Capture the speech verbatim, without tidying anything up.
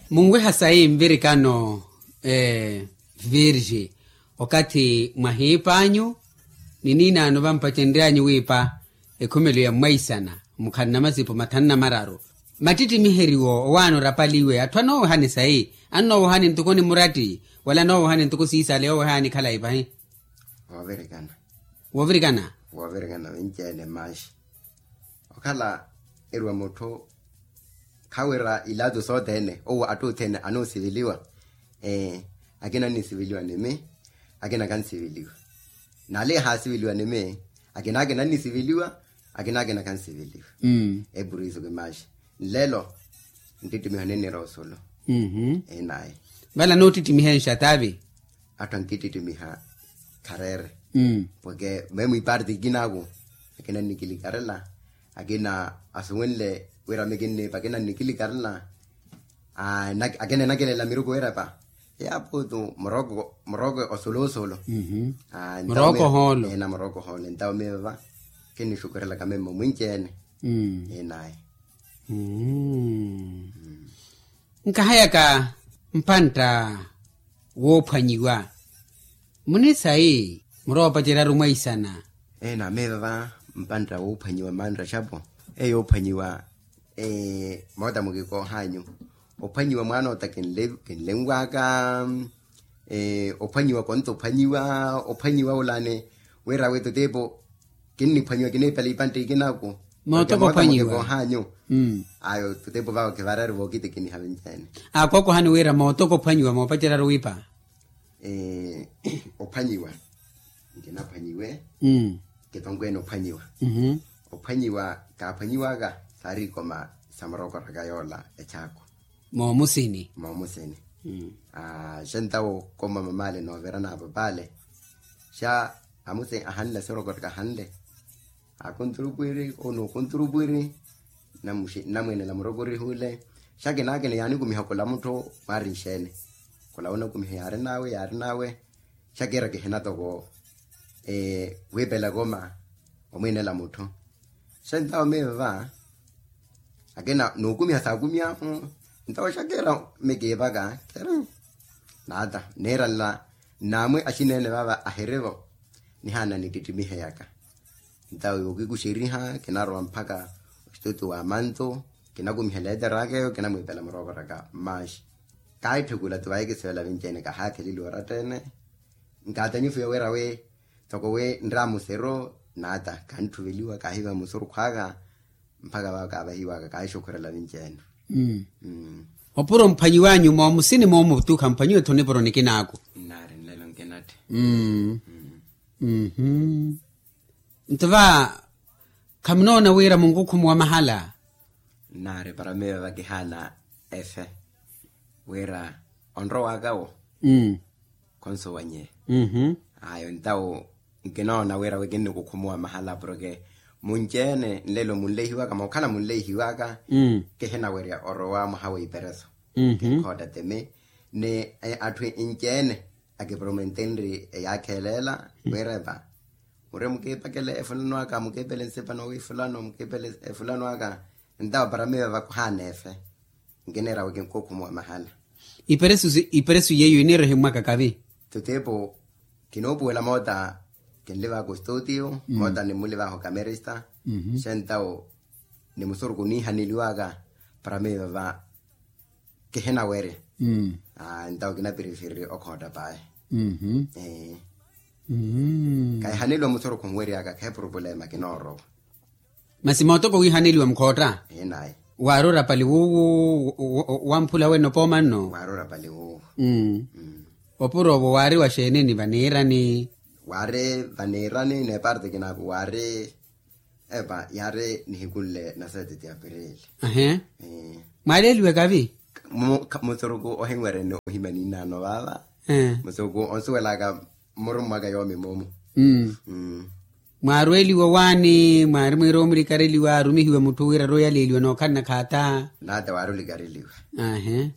Munweha sayi nvirikano virgi, okathi mwahiip'anyu ni niinaano vampacenryanyu wiipa ekhumelo ya mwaisana mukhanna masipu mathanu na mararu. Mattittimiheryo owaana orapaliwe atthu anoowohani sayi, annoowohani ntuku ni muratti wala anoowohani ntuku siisale yoowohani khalayi pahi. Woovirikana. Woovirikana. Woovirikana vinci-ene manxi. Okhala erwa mutthu khawira ilato sothene owo attuthene anoosiviliwa. Akina annisiviliwa ni mi, akina kansiviliwa. Nale haasiviliwa ni mi, akina akina annisiviliwa, akina akina kansiviliwa. Epuriso kimaxi nlelo nttittimiho ninniroosolo. Inaye. Vale anoottittimihenxa taavi. Atthu ankittittimiha khareere. Porke meemwiiparti ikinaku akina annikilikarela, akina asuwenle wira mikinniipa akina annikilikarela. Akina enakelela miruku wiirepa yaaputu muroko muroko osoloosolo. Muroko hoolo. Ena muroko hoolo entawo miiva kinnixukurelaka memmo mwinci-ene. Inaye. Nkahayaka mpantta woophwanyiwa munisayi muroopaceryaru mwaisana. Ena miiva mpantta woophwanyiwa mantta xapo eyo yoophwanyiwa. Moota mukikoohanyu ophwanyiwa mwaanoota kinlenwaka. Ophwanyiwa konto ophwanyiwa ophwanyiwa olani wira wi tutiipo kinniphwanyiwa kiniipela ipantti ikinaku. Mootoko ophwanyiwa. Ayo tutiipo vawo kivarari vookitikiniha vinci-ene. Akookohani wira mootoko ophwanyiwa moopaceryaru wiipa. Ophwanyiwa nkinaphwanyiwe. Kitonkweene ophwanyiwa. Ophwanyiwa kaaphwanyiwaka saari ikoma sa murokoraka yoola echaakwa. Moomusini. Moomusini. Xa ntawo koma mamaale noovira na papaale xa amusi ahanle asirokoreka ahanle. Akunturupwiri onukunturupwiri. Nnamweenela murokorihule xa kinaakina yaanikumiha khula mutthu mwaari nxeene. Khula onakumiha yaari nawe yaari nawe. Xa kiira kihina toko wiipela koma omweenela mutthu. Xa ntawo miiva akina nookumiha saakumiha. Ntawo xa kiira mikiipaka kiira naata niira nla. Nnaamwi axineene vaava ahirivo nihaana nittittimihe yaka. Ntawo yookikuxeriha kinarowa mpakha oxitutu wa mantu kinakumiha leeteraka eyo kinamwiipela murookoraka mmaxi. Kaahitthukula tuvayi kisivela vinci-ene kahaatheleliwa oratta-ene. Nkaatanyifiwa wira wi toko wi nraamusero naata kanthuveliwa kaahiiva musurukhu aka. Mpakha vawo kaavahiwaka kaahixukhurela vinci-ene. Opuro mphwanyiwanyu moomusini moomutuukha mphwanyiwe-tho nipuro nikinaaku. Nnaari nlelo nkinatthi. Nto va khamunoona wira munkukhumuwa mahala. Nnaari para miiva vakihaana efe wira onrowaka wo khonsuwanyeya. Ayo ntawo nkinoona wira wi kinnikukhumuwa mahala porke munci-ene nlelo munleihiwaka mookhala munleihiwaka. Kihinawerya orowa mwaha w'ipereso kinkhotta timi ni atthu inci-ene akipromentenri eyaakhelela wiirepa. Muri mukiipakele efulano aka mukiipele nsipa nowiifulano mukiipele efulano aka. Ntawo para miiva vakuhaana efe nkiniira wi kinkukhumu wa mahala. Iperesu yeiyo iniira ohimmwaka kavi. Tutiipo kinoopuwela moota kinlivaka ostuutiyo moota nimmulivaka okamerista. Xa ntawo ni musurukhu niihaneliwaka para miiva va kihinawerya. Ntawo kinapirifiriri okhootta paye. Kahihaneliwa musurukhu nweryaka kheepurupulema kinoorowa. Masi mootoko wiihaneliwa mukhootta. Waari orapali wuuwu wamphula wene opooma nno. Waari orapali wuuwu. Opuro owo waari wa xeeni ni vaniirani? Waari vaniirani n'eparti kinaku waari epa yaari nihikunle na sete ti apirili. Ahe. Mwaaleeliwe kavi? Musuruku ohinwerene ohimya ninnaano vaava. Musuruku onsuwelaka mmurummwaka yoomi moomu. Mwaarweeliwa owaani mwaari mwiira omulikareliwa arumihiwe mutthu wira ari oyaleeliwa nookhalana khaata? Naata waari olikareliwa. Ahe.